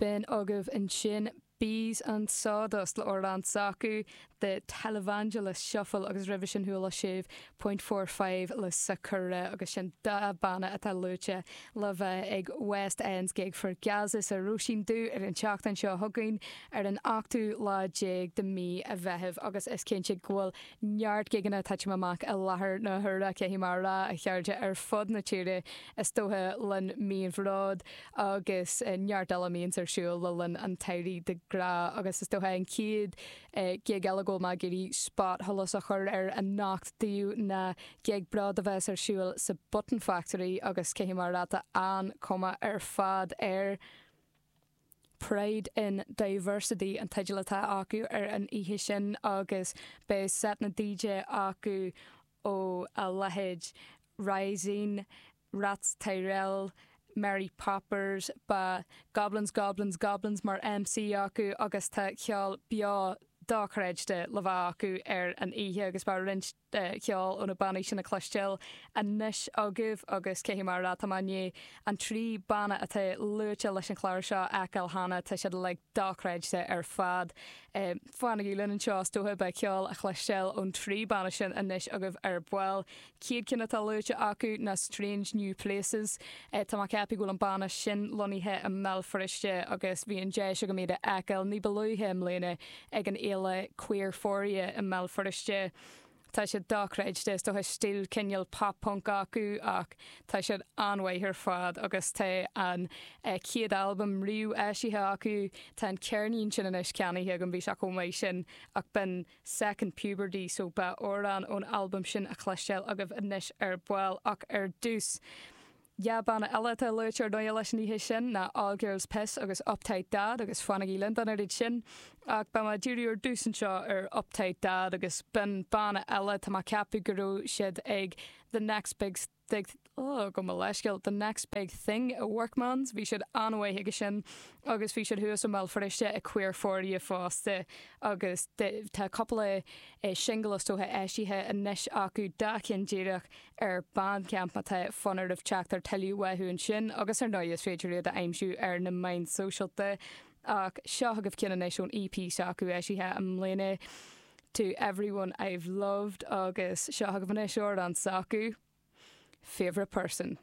B'in agaibh ansin Bees and Sawdust le amhrán s'acu, The Televangelist Shuffle agus roimhe sin chuala sibh Point 45 le Sakura agus sin dá banna atá luaite le bheith ag West End's Gig for Gaza sa Róisín Dubh ar an tseachtain seo chugainn ar an ochtú lá déag de mí an Mheithimh agus is cinnte go bhfuil neart gigeanna ag titim amach i láthair na huaire, caithfidh mé a rá, a chairde, ar fud na tíre is dócha linn mí an Bhróid agus neart eile a mbíonns ar siúl le linn an tsamhraidh de ghnáth agus is dócha an chéad ghig eile go bhfuil mé ag iarraidh spotsholas a chur air anocht daoibh ná gig Bród a bheas ar siúl sa Button Factory agus caithfidh mé a rá tá an-chuma ar fad air. Pride in Diversity an teideal atá acu ar an oíche sin agus beidh set na DJ acu ó a leithéid Rising, Rats Tyrell, Mary Poppers, beidh Goblins Goblins Goblins mar MC acu agus tá ceol beo dochreidte le bheith acu ar an oíche agus beidh roinnt ceol ó na bannaí sin a chloisteáil anois agaibh agus caithfidh mé a rá tá mé i ndiaidh an trí banna atá luaite leis an chlár seo a fheiceáil cheana, tá siad uilig dochreidte ar fad. Fanaigí linn anseo is dócha, beidh ceol a chloisteáil ón trí banna sin anois agaibh ar ball. Chéad ceann atá luaite acu ná Strange New Places. Tá mé ag ceapadh go bhfuil an banna sin lonnaithe i mBéal Feirste agus bhí an deis agam iad a fheiceáil ní ba luaithe i mbliana ag an fhéile Queerphoria i mBéal Feirste. Tá siad dochreidte, is dócha stíl cineál pop punk acu ach tá siad an-mhaith ar fad agus tá an chéad albam riamh eisithe acu, tá an ceirnín sin anois ceannaithe agam, bhí sé chomh maith sin ach b'in Second Puberty so beidh amhrán ón albam sin a chloisteáil agaibh anois ar ball ach ar dtús. Dhá banna eile atá luaite ar ndóigh leis an oíche sin ná All Girls Piss agus Uptight Dad agus fanaigí linn don oiread sin. Ach beidh mé ag díriú ar dtús anseo ar Uptight Dad agus b'in banna eile, tá mé ag ceapadh go raibh siad ag The Next Big Big oh gabh mo leithscéal The Next Big Thing i Workman's, bhí siad an-mhaith aige sin agus bhí siad thuas i mBéal Feirste ag Queerphoria fosta agus tá cúpla singil is dócha eisithe anois acu, dá cheann díreach ar Bandcamp má tá fonn oraibh teacht ar tuilleadh uathu ansin agus ar ndóigh is féidir iad a aimsiú ar na meáin sóisialta. Ach seo agaibh ceann anois ón EP s'acu eisithe i mbliana, To Everyone I've Loved agus seo agaibh anois amhrán s'acu, Favourite Person.